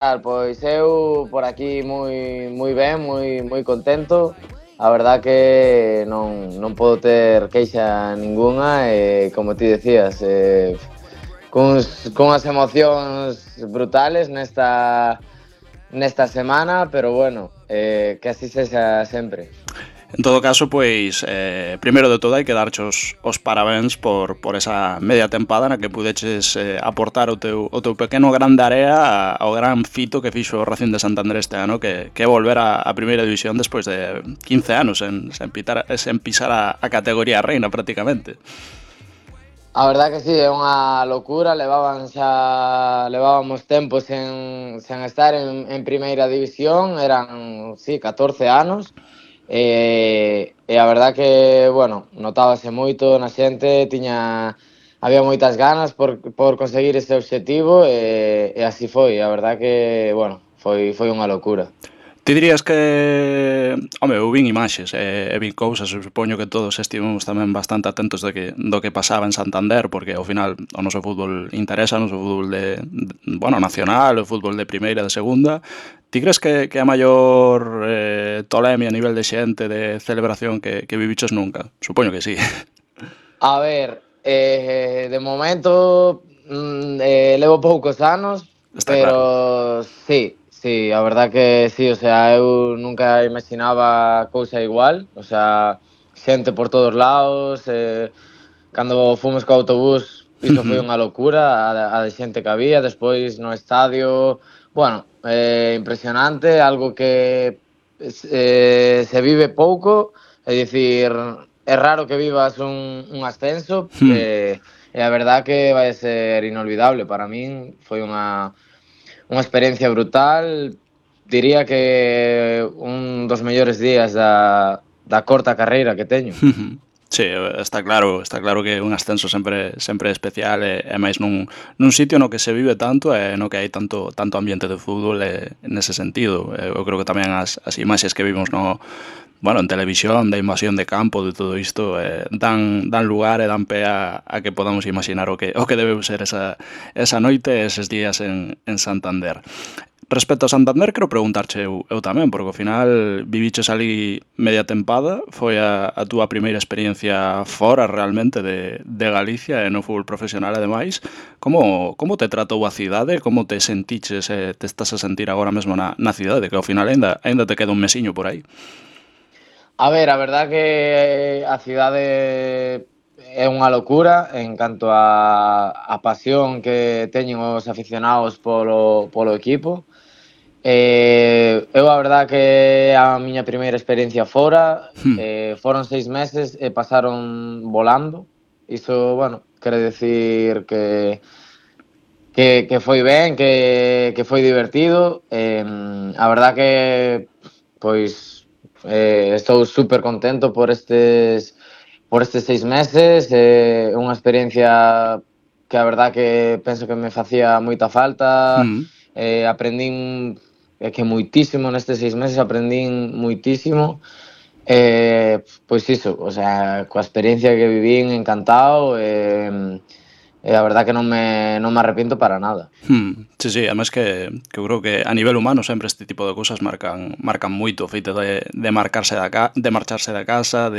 Pois eu por aquí moi ben, moi contento. A verdad que non podo ter queixa ningunha e, como ti decías, cunhas emocións brutales nesta semana, pero bueno, que así sexa sempre. En todo caso, pois, primeiro de todo hai que darche os parabéns por esa media tempada na que pudeches aportar o teu pequeno gran de area ao gran fito que fixo o Racing de Santander este ano, que é volver a primeira división despois de 15 anos sen pisar a categoría reina prácticamente. A verdad que sí, é unha locura, levábamos tempo sen estar en primeira división, eran, sí, 14 anos, e a verdad que, bueno, notábase moito na xente, había moitas ganas por conseguir ese obxectivo e así foi, a verdad que, bueno, foi unha locura. Ti dirías que... Home, eu vin imaxes e vin cousas, eu supoño que todos estivemos tamén bastante atentos do que pasaba en Santander, porque ao final o noso fútbol interesa, o noso fútbol bueno, nacional, o fútbol de primeira, de segunda. Ti crees que a maior tolemia a nivel de xente, de celebración que viviches nunca? Supoño que sí. A ver, de momento levo poucos anos, Está claro. pero sí, a verdad que sí, o sea, eu nunca imaginaba cousa igual, o sea, xente por todos lados, cando fomos co autobús, iso foi unha locura, a de xente que había, despois no estadio, bueno, impresionante, algo que se vive pouco, é dicir, é raro que vivas un ascenso, e a verdad que vai ser inolvidable para min, foi unha experiencia brutal, diría que un dos mellores días da corta carreira que teño. Sí, está claro que un ascenso sempre é especial e máis nun sitio no que se vive tanto e no que hai tanto ambiente de fútbol nese sentido. Eu creo que tamén as imaxes que vimos bueno, en televisión, da invasión de campo, de todo isto, dan lugar e dan pé a que podamos imaginar o que debeu ser esa noite e eses días en Santander. Respecto a Santander, quero preguntarche eu tamén, porque ao final viviches ali media tempada, foi a túa primeira experiencia fora realmente de Galicia e no fútbol profesional ademais. Como te tratou a cidade? Como te sentiches e te estás a sentir agora mesmo na cidade? Que ao final aínda te queda un mesiño por aí. A ver, a verdad que a cidade é unha locura en canto a pasión que teñen os aficionados polo equipo. Eu a verdad que a miña primeira experiencia fora, foron 6 meses e pasaron volando. Iso, bueno, quere decir que foi ben, que foi divertido. A verdad que, pois, estou super contento por estes 6 meses. Unha experiencia que a verdad que penso que me facía moita falta. Aprendín que moitísimo nestes 6 meses, aprendín moitísimo. Pois iso, o sea, coa experiencia que vivín, encantado. E a verdad que non me arrepiento para nada. Sí, sí, además que eu creo que a nivel humano sempre este tipo de cousas marcan moito, o feito de marcharse da casa,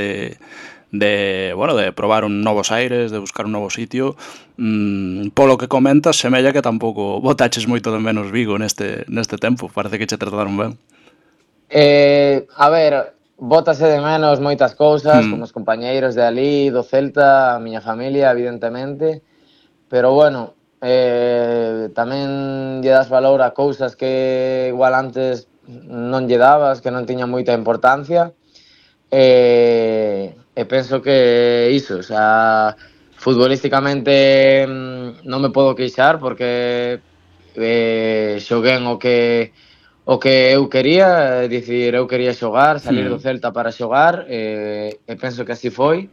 bueno, de probar un novos aires, de buscar un novo sitio. Polo que comentas, semella que tampouco botaches moito de menos Vigo neste tempo, parece que che trataron ben. A ver, bótase de menos moitas cousas, como os compañeiros de alí, do Celta, a miña familia, evidentemente, pero bueno, tamén lle das valor a cousas que igual antes non lle dabas, que non tiñan moita importancia. E penso que iso, o sea, futbolísticamente non me podo queixar porque xoguén o que eu quería, é dicir, eu quería xogar, salir do Celta para xogar, e penso que así foi.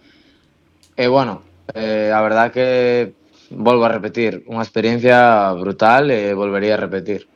E bueno, a verdad que volvo a repetir, unha experiencia brutal e volvería a repetir.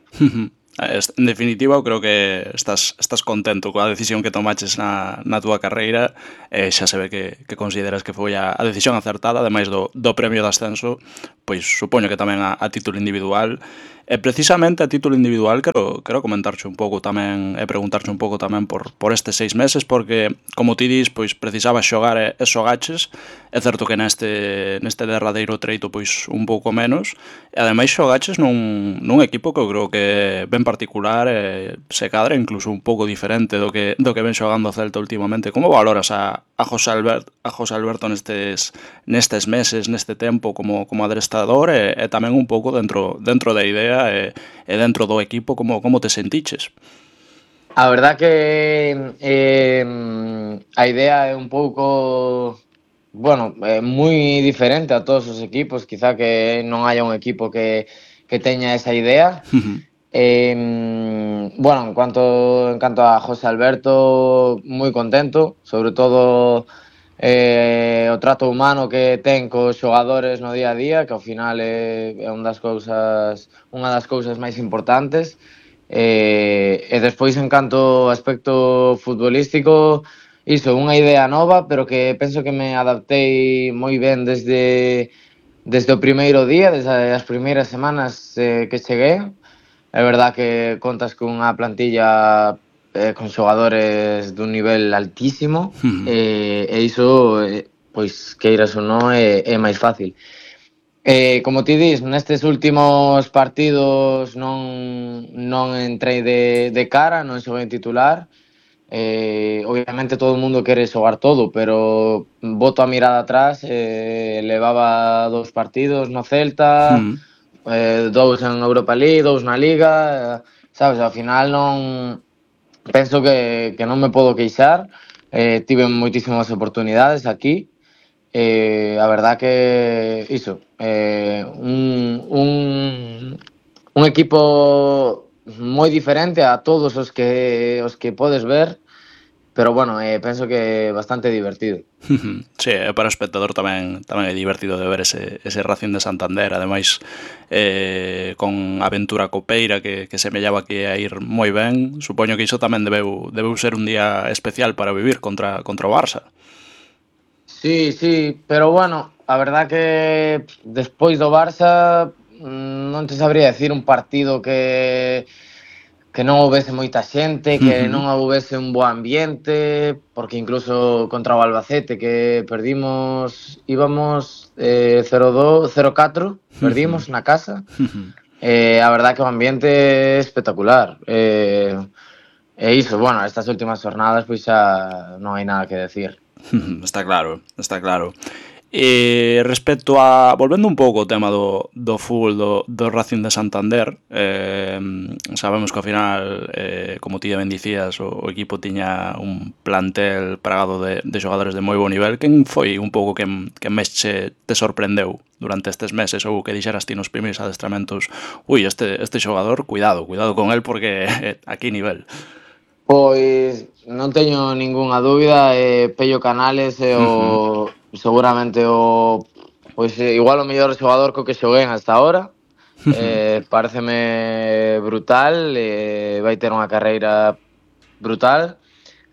En definitiva, eu creo que estás contento coa decisión que tomaches na túa carreira e xa se ve que consideras que foi a decisión acertada, ademais do premio de ascenso, pois supoño que tamén a título individual E precisamente a título individual quero comentarche un pouco tamén e preguntarche un pouco tamén por estes 6 meses, porque, como ti dis, pois precisabas xogar e xogaches. É certo que neste derradeiro treito pois un pouco menos, e ademais xogaches nun equipo que eu creo que ben particular e se cadra incluso un pouco diferente do que ven xogando o Celta últimamente. Como valoras a José Alberto nestes meses, neste tempo como adestrador e tamén un pouco dentro da idea e dentro do equipo como te sentiches? A verdad que a idea é un pouco, bueno, moi diferente a todos os equipos, quizá que non haya un equipo que teña esa idea. Bueno, en canto a José Alberto, moi contento, sobre todo o trato humano que ten cos xogadores no día a día, que ao final é unha das cousas máis importantes. E despois, en canto ao aspecto futbolístico, iso, unha idea nova, pero que penso que me adaptei moi ben desde o primeiro día, desde as primeiras semanas que cheguei. É verdad que contas cunha plantilla con xogadores dun nivel altísimo, e iso, pois, queiras ou non, é máis fácil. Como ti dis, nestes últimos partidos non entrei de cara, non xoguei titular. Obviamente todo o mundo quere xogar todo, pero boto a mirada atrás, levaba 2 partidos no Celta, 2 en Europa League, 2 na Liga, sabes, ao final non penso que non me podo queixar. Tive moitísimas oportunidades aquí. A verdad que iso, un equipo moi diferente a todos os que podes ver, pero bueno, penso que bastante divertido. Sí, e para o espectador tamén é divertido de ver ese Racing de Santander, ademais con aventura copeira que semellaba que ia ir moi ben. Supoño que iso tamén debeu ser un día especial para vivir contra o Barça. Sí, sí, pero bueno, a verdad que despois do Barça non te sabría decir un partido que non houbese moita xente, que non houbese un bo ambiente, porque incluso contra o Albacete que perdimos, íbamos 0-2, 0-4, perdimos na casa. A verdad que o ambiente é espectacular. E iso, bueno, estas últimas jornadas pois xa non hai nada que decir. Está claro, está claro. E respecto a... Volvendo un pouco ao tema do fútbol do Racing de Santander, sabemos que ao final, como ti ben dicías, o equipo tiña un plantel plagado de xogadores de moi bo nivel. Quen foi un pouco que máis te sorprendeu durante estes meses, ou que dixeras ti nos primeiros adestramentos: ui, este xogador, cuidado con el porque aquí nivel? Pois non teño ningunha dúbida, Pello Canales é seguramente pois igual o mellor xogador co que xoguei hasta ahora. Paréceme brutal, vai ter unha carreira brutal.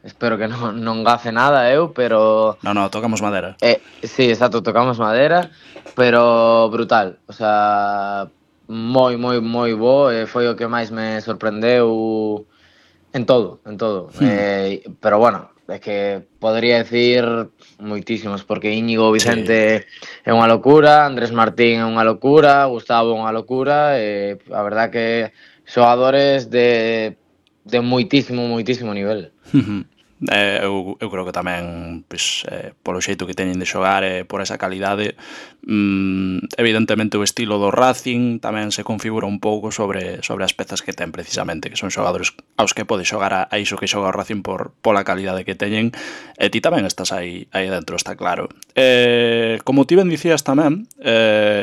Espero que non gafe nada eu, pero No, tocamos madera. sí, exacto, tocamos madera, pero brutal. O sea, moi bo, foi o que máis me sorprendeu en todo. Pero bueno, é que podría decir moitísimos, porque Íñigo Sí. Vicente é unha locura, Andrés Martín é unha locura, Gustavo é unha locura, a verdad que xogadores de moitísimo nivel. Eu creo que tamén pois, polo xeito que teñen de xogar e por esa calidade, evidentemente o estilo do Racing tamén se configura un pouco sobre as pezas que ten precisamente, que son xogadores aos que pode xogar a iso que xoga o Racing pola calidade que teñen, e ti tamén estás aí dentro, está claro. Como ti ben dicías tamén,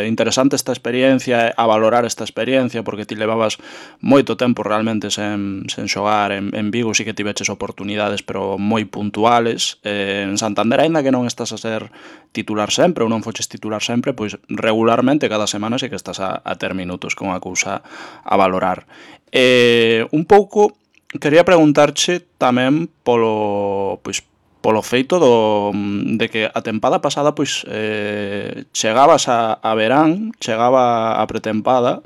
interesante esta experiencia, a valorar esta experiencia, porque ti levabas moito tempo realmente sen xogar en Vigo, sí que tiveches oportunidades, pero moi puntuales. En Santander, aínda que non estás a ser titular sempre ou non foches titular sempre, pois regularmente cada semana sí que estás a ter minutos, con a cousa a valorar. Un pouco quería preguntarche tamén polo feito de que a tempada pasada pois chegabas a verán, chegaba a pretempada,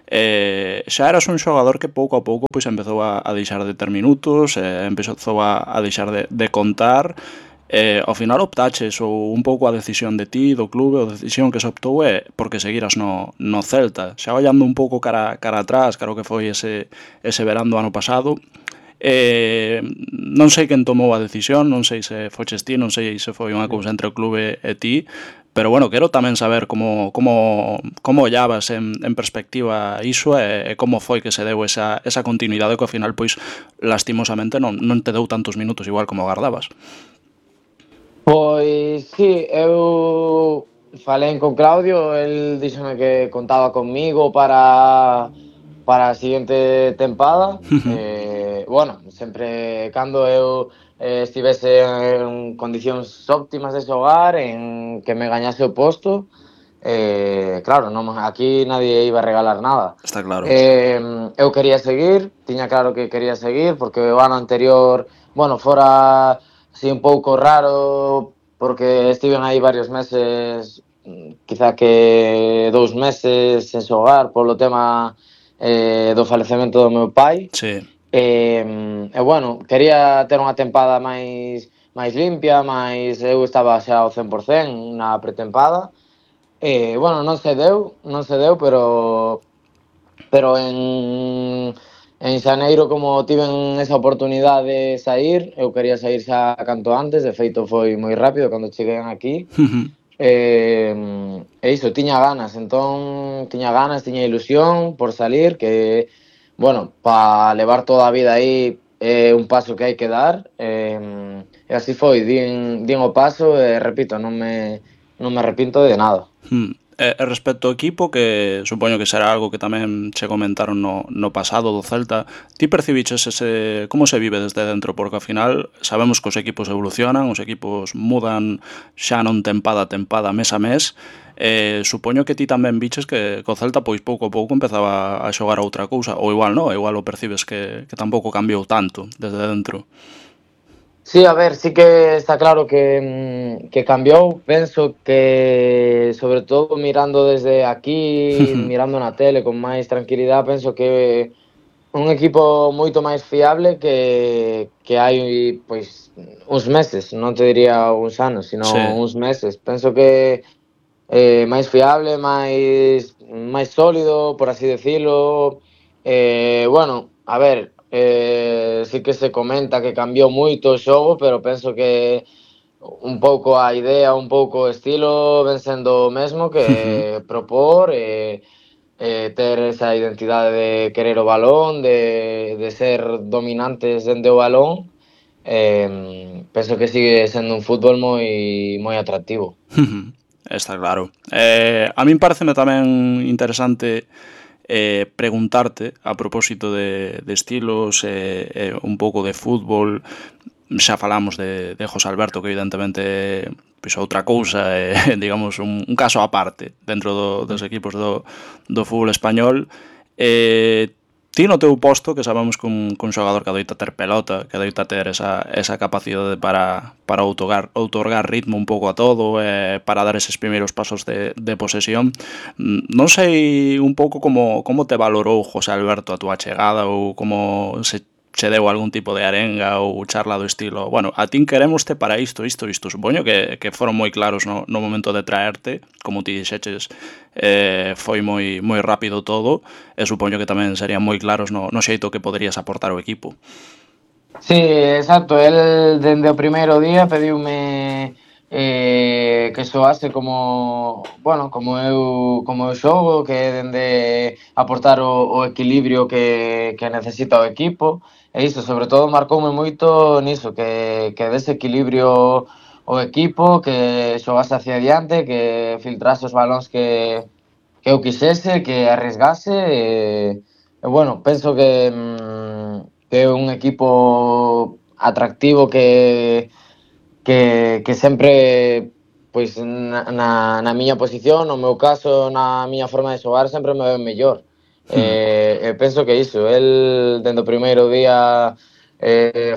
Xa eras un xogador que pouco a pouco pois empezou a deixar de ter minutos, empezou a deixar de contar, ao final optaches ou un pouco a decisión de ti, do clube, a decisión que se optou é porque seguiras no Celta. Xa ollando un pouco cara atrás, claro que foi ese verán do ano pasado, non sei quen tomou a decisión, non sei se foches ti, non sei se foi unha cousa entre o clube e ti, pero bueno, quero tamén saber como ollabas en perspectiva iso e como foi que se deu esa continuidade que ao final, pois, lastimosamente non te deu tantos minutos igual como agardabas. Pois sí, eu falei con Claudio, el díxome que contaba conmigo para a seguinte tempada. Bueno, sempre cando eu estivese en condicións óptimas de xogar, en que me gañase o posto, claro, non, aquí nadie iba a regalar nada. Está claro. Eu quería seguir, tiña claro que quería seguir, porque o ano anterior, bueno, fora así un pouco raro, porque estiven aí varios meses, quizá que 2 meses sen xogar polo tema do falecemento do meu pai. Sí. E bueno, quería ter unha tempada máis limpia, máis eu estaba xa ao 100% na pretempada. Bueno, non se deu, pero en xaneiro, como tiven esa oportunidade de sair, eu quería sair xa canto antes, de feito foi moi rápido cando cheguei aquí. E iso, tiña ganas, tiña ilusión por salir, que, bueno, para levar toda a vida aí é un paso que hai que dar, e así foi, din o paso e, repito, non me arrepinto de nada. Respecto ao equipo, que supoño que será algo que tamén che comentaron no pasado do Celta, ti percibiches como se vive desde dentro? Porque ao final sabemos que os equipos evolucionan, os equipos mudan xa non tempada a tempada, mes a mes. Supoño que ti tamén viches que o Celta pois pouco a pouco empezaba a xogar a outra cousa, ou igual non, igual o percibes que tampouco cambiou tanto desde dentro. Sí, a ver, sí que está claro que cambiou. Penso que, sobre todo mirando desde aquí, mirando na tele con máis tranquilidade, penso que un equipo moito máis fiable que hai, pois, uns meses, non te diría uns anos, sino Sí. uns meses. Penso que máis fiable, máis sólido, por así decirlo. Bueno, a ver, sí que se comenta que cambiou moito o xogo, pero penso que un pouco a idea, un pouco o estilo ven sendo o mesmo, que propor ter esa identidade de querer o balón, de ser dominantes dende o balón. Penso que sigue sendo un fútbol moi atractivo. Está claro. A min pareceme tamén interesante preguntarte a propósito de estilos, un pouco de fútbol. Xa falamos de José Alberto, que evidentemente pois outra cousa, digamos un caso aparte dentro dos equipos do fútbol español. Ti no teu posto, que sabemos que un xogador que adoita ter pelota, que adoita ter esa capacidade para outorgar ritmo un pouco a todo, para dar eses primeiros pasos de posesión, non sei un pouco como te valorou José Alberto a túa chegada, ou como se che deu algún tipo de arenga ou charla do estilo, bueno, a tin queremoste para isto. Supoño que foron moi claros no momento de traerte, como ti dixeches, foi moi rápido todo, e supoño que tamén serían moi claros no xeito que poderías aportar ao equipo. Sí, exacto, el dende o primeiro día pediume que xoase como, bueno, como eu xogo, que dende aportar o equilibrio que necesita o equipo. E iso, sobre todo, marcoume moito niso, que dese equilibrio o equipo, que xogase hacia adiante, que filtrase os balóns que eu quixese, que arriesgase. E bueno, penso que é un equipo atractivo que sempre, pois, na miña posición, no meu caso, na miña forma de xogar, sempre me ven mellor. Penso que iso, el dende o primeiro día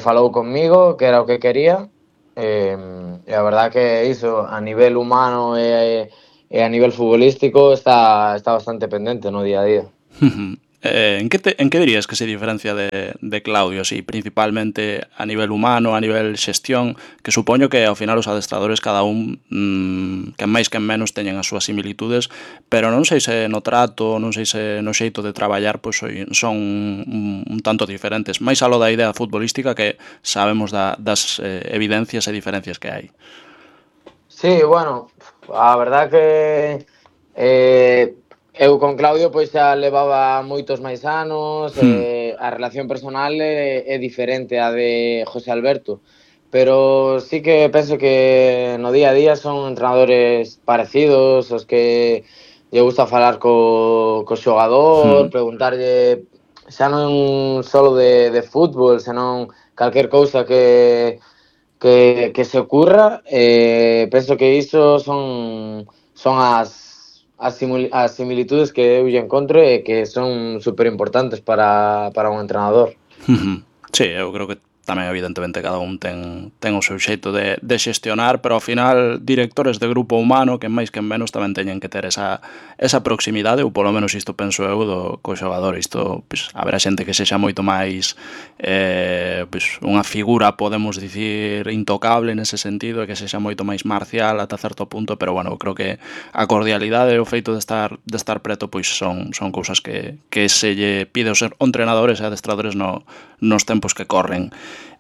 falou conmigo, que era o que quería, e a verdad que iso, a nivel humano e a nivel futbolístico, está bastante pendente no día a día. En que dirías que se diferencia de Claudio, así, principalmente a nivel humano, a nivel xestión, que supoño que ao final os adestradores cada un, que máis que menos teñen as súas similitudes, pero non sei se no trato, non sei se no xeito de traballar, pois son un tanto diferentes, máis aló da idea futbolística que sabemos das evidencias e diferencias que hai. Sí, bueno, a verdad que eu con Claudio pois xa levaba moitos máis anos, Hmm. a relación personal é diferente a de José Alberto, pero sí que penso que no día a día son entrenadores parecidos, os que lle gusta falar co xogador, Hmm. preguntarlle xa non solo de fútbol, senón calquer cousa que se ocurra, penso que iso son as similitudes que eu lle encontro e que son super importantes para un entrenador. Sí, eu creo que tamén evidentemente cada un ten o seu xeito de xestionar, pero ao final directores de grupo humano que máis que menos tamén teñen que ter esa proximidade, ou polo menos isto penso eu co xogador. Isto, pois, haberá xente que sexa moito máis pois, unha figura, podemos dicir, intocable nese sentido, e que sexa moito máis marcial ata certo punto, pero bueno, creo que a cordialidade e o feito de estar preto pois son cousas que se lle pide aos entrenadores e adestradores nos tempos que corren.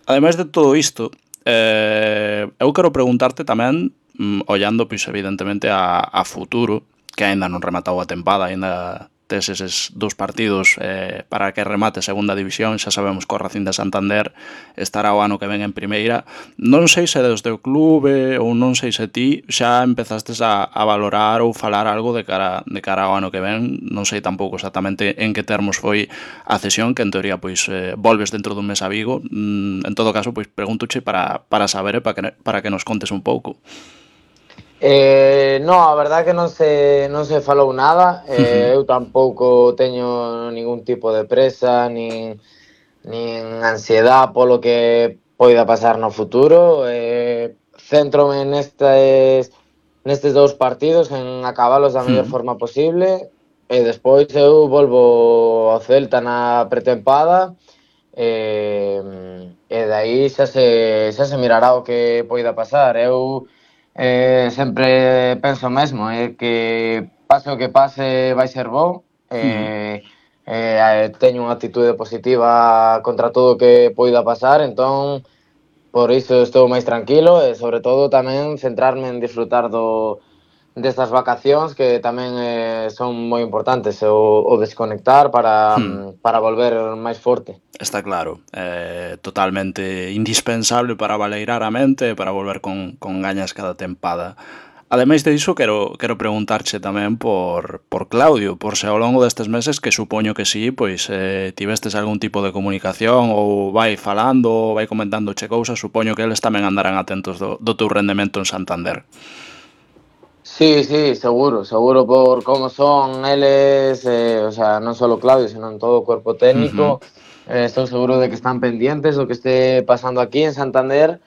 Ademais de todo isto, eu quero preguntarte tamén, ollando, pois, evidentemente, a futuro, que aínda non rematou a tempada, aínda tes eses 2 partidos para que remate segunda división, xa sabemos que o Racing de Santander estará o ano que ven en primeira. Non sei se desde o clube ou non sei se ti xa empezastes a valorar ou falar algo de cara ao ano que ven, non sei tampouco exactamente en que termos foi a cesión, que en teoría pois volves dentro dun mes a Vigo. En todo caso, pois pregúntoche para saber e para que nos contes un pouco. No, a verdad que non se falou nada, eu tampouco teño ningún tipo de presa, nin ansiedad polo que poida pasar no futuro, céntrome nestes 2 partidos, en acabalos da mellor forma posible, e despois eu volvo ao Celta na pretempada, e de aí xa se mirará o que poida pasar. Eu sempre penso o mesmo, que pase o que pase vai ser bo, teño unha actitude positiva contra todo o que poida pasar, entón por iso estou máis tranquilo e sobre todo tamén centrarme en disfrutar destas vacacións que tamén son moi importantes, o desconectar para volver máis forte. Está claro, totalmente indispensable para baleirar a mente e para volver con gañas cada tempada. Ademais de iso, quero preguntarche tamén por Claudio, por se ao longo destes meses, que supoño que sí, pois tivestes algún tipo de comunicación ou vai falando ou vai comentándoche cousas, supoño que eles tamén andarán atentos do teu rendemento en Santander. Sí, sí, seguro por como son eles, o sea, non solo Claudio, senón todo o cuerpo técnico, estou seguro de que están pendientes do que este pasando aquí en Santander.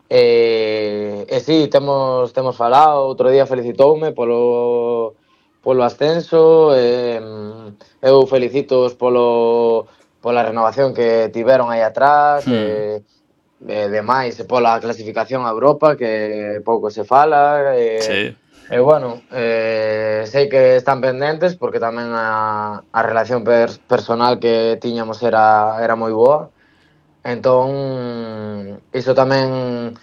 Sí, temos falado, outro día felicitoume polo ascenso, eu felicitoos pola renovación que tiveron aí atrás, demais pola clasificación a Europa, que pouco se fala, Sí. e bueno, sei que están pendentes porque tamén a relación personal que tiñamos era moi boa. Entón, iso tamén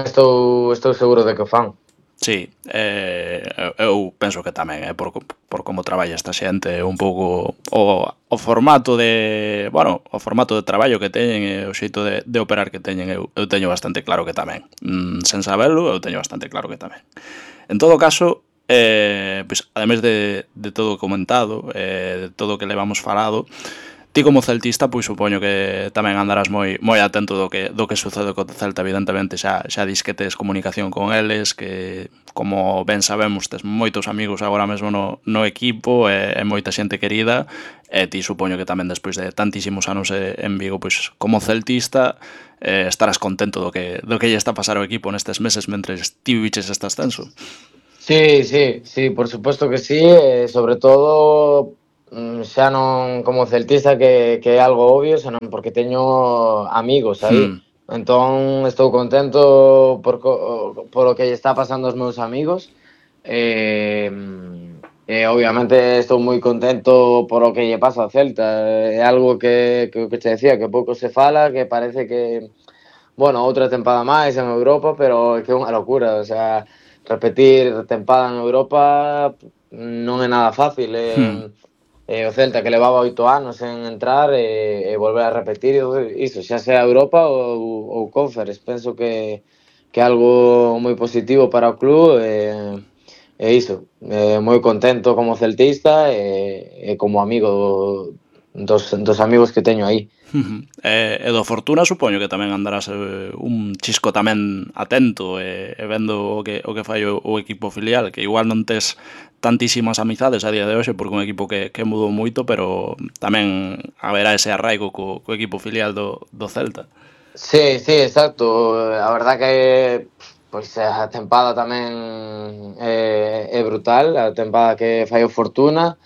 estou seguro de que o fan. Sí, eu penso que tamén, por como traballa esta xente, un pouco o formato o formato de traballo que teñen e o xeito de operar que teñen, eu teño bastante claro que tamén. Sen sabelo, eu teño bastante claro que tamén. En todo caso, pois, ademais de todo o comentado, de todo o que levamos falado, ti como celtista, pois supoño que tamén andarás moi atento do que sucede co Celta, evidentemente xa dis que tes comunicación con eles, que como ben sabemos tes moitos amigos agora mesmo no equipo e moita xente querida, e ti supoño que tamén despois de tantísimos anos en Vigo, pois como celtista estarás contento do que lle está a pasar ao equipo nestes meses mentres ti viviches este ascenso. Sí, por supuesto que sí, sobre todo xa non como celtista que é algo obvio, senón porque teño amigos aí. Hmm. Entón estou contento por o que lle está pasando aos meus amigos. E, obviamente estou moi contento por o que lle pasa ao Celta. É algo que te decía, que pouco se fala, que parece que, bueno, outra tempada máis en Europa, pero é que é unha locura, o sea, repetir tempada en Europa non é nada fácil. Hmm. O Celta que levaba 8 anos en entrar e volver a repetir iso, xa sea Europa ou Conference. Penso que é algo moi positivo para o club e iso, moi contento como celtista e como amigo dos amigos que teño aí. E do Fortuna supoño que tamén andarás un chisco tamén atento e vendo o que fai o equipo filial, que igual non tes tantísimas amizades a día de hoxe porque un equipo que mudou moito, pero tamén haberá ese arraigo co equipo filial do Celta. Sí, sí, exacto. A verdad que pois a tempada tamén é brutal, a tempada que fai o Fortuna.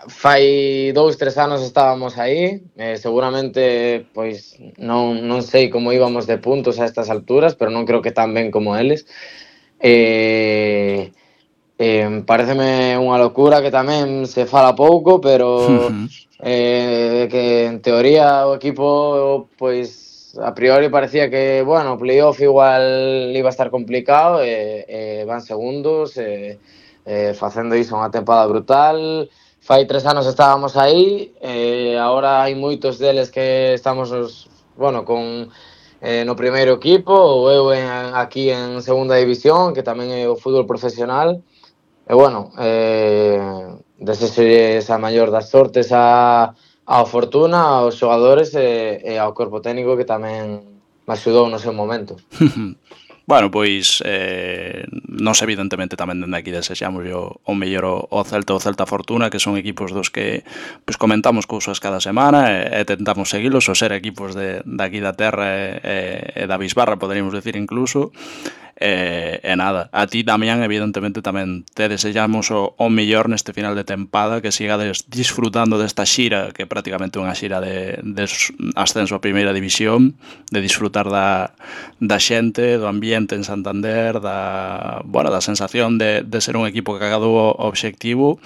Fai 2, 3 anos estábamos aí, seguramente pois non sei como íbamos de puntos a estas alturas, pero non creo que tan ben como eles. Eh, Pareceme unha locura que tamén se fala pouco, pero que en teoría o equipo pois a priori parecía que, bueno, o playoff igual iba a estar complicado e van segundos facendo iso unha tempada brutal. Fai 3 anos estábamos aí, agora hai moitos deles que estamos bueno, con no primeiro equipo, ou eu aquí en segunda división, que tamén é o fútbol profesional. E bueno, desexolles a maior das sortes ao Fortuna, aos xogadores e ao corpo técnico que tamén me axudou no seu momento. Bueno, pois nos evidentemente tamén dende aquí desexamos o mellor o Celta o Celta Fortuna, que son equipos dos que pois comentamos cousas cada semana e tentamos seguilos, o ser equipos de aquí da terra e da bisbarra, poderíamos decir incluso. E nada, a ti, Damián, evidentemente tamén te desexamos o mellor neste final de tempada, que sigades disfrutando desta xira, que é prácticamente unha xira de ascenso a primeira división, de disfrutar da xente, do ambiente en Santander, da sensación de ser un equipo que acadou o obxectivo,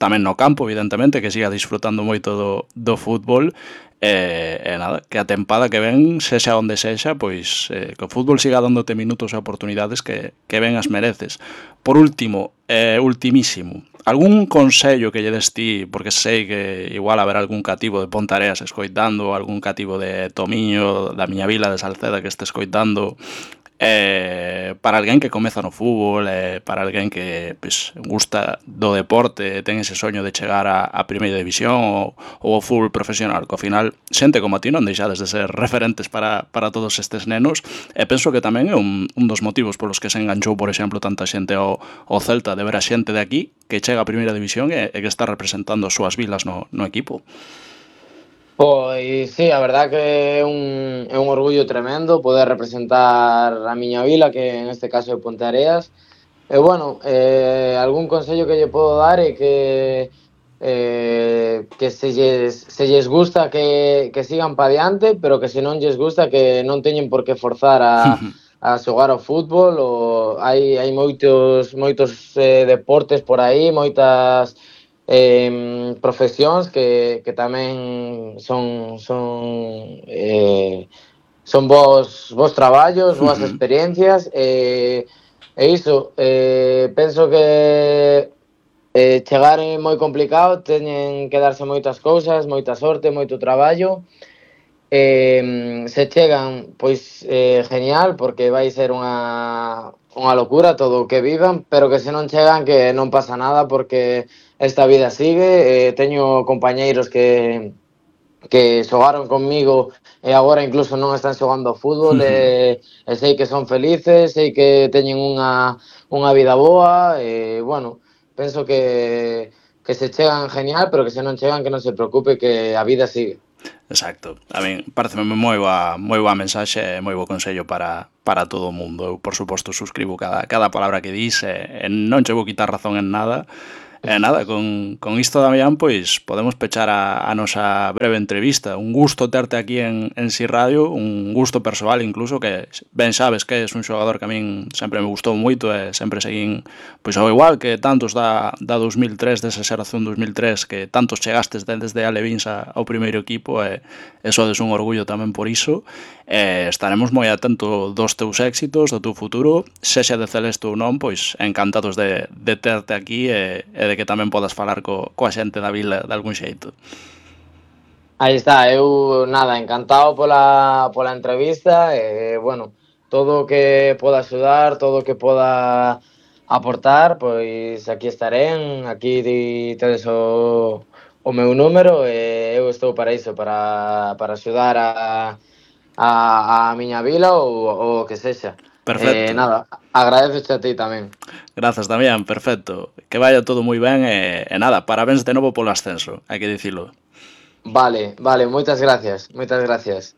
tamén no campo, evidentemente, que siga disfrutando moito do fútbol. E nada, que a tempada que ven, sexa onde sexa, pois que o fútbol siga dándote minutos e oportunidades que ben as mereces. Por último, ultimísimo, algún consello que lle des ti, porque sei que igual haberá algún cativo de Pontareas escoitando, algún cativo de Tomiño, da miña vila de Salceda que este escoitando, para alguén que comeza no fútbol, para alguén que pois, gusta do deporte, ten ese soño de chegar a primeira división ou ao fútbol profesional, que ao final xente como a ti non deixades de ser referentes para todos estes nenos, e penso que tamén é un dos motivos polos que se enganchou, por exemplo, tanta xente ao Celta, de ver a xente de aquí que chega a primeira división e que está representando as súas vilas no equipo. Pois sí, a verdad que é un orgullo tremendo poder representar a miña vila, que en este caso é Ponteareas. E bueno, algún consello que lle podo dar é que se lles gusta que sigan pa diante, pero que se non lles gusta que non teñen por que forzar a xogar ao fútbol. Hai moitos deportes por aí, moitas profesións que tamén son bons traballos, boas experiencias e iso, penso que chegar é moi complicado, teñen que darse moitas cousas, moita sorte, moito traballo. Se chegan, pois genial, porque vai ser unha locura todo o que vivan, pero que se non chegan que non pasa nada, porque esta vida sigue. Teño compañeiros que xogaron conmigo e agora incluso non están xogando ao fútbol e sei que son felices, sei que teñen unha vida boa e, bueno, penso que se chegan genial, pero que se non chegan que non se preocupe, que a vida sigue. Exacto. A min pareceme moi boa mensaxe e moi bo consello para todo o mundo. Eu, por suposto, suscribo cada palabra que dis e non che vou quitar razón en nada. E nada, con isto, Damián, pois podemos pechar a nosa breve entrevista. Un gusto terte aquí en Si Radio, un gusto persoal incluso, que ben sabes que és un xogador que a min sempre me gustou moito e sempre seguín, pois ao igual que tantos da 2003, desa xeración 2003, que tantos chegastes desde Alevins ao primeiro equipo, e sodes un orgullo tamén por iso. Estaremos moi atentos dos teus éxitos, do teu futuro, sexa de Celeste ou non, pois encantados de terte aquí e de que tamén podas falar coa xente da vila de algún xeito. Aí está, eu nada, encantado pola entrevista e, bueno, todo o que poda axudar, todo o que poda aportar, pois aquí estarén, aquí tedes o meu número e eu estou para iso, para axudar a miña vila ou o que sexa. Perfecto. Nada, agradezoche a ti tamén. Grazas, Damián, perfecto. Que vaya todo moi ben e nada, parabéns de novo polo ascenso, hai que dicilo. Vale, moitas gracias, moitas gracias.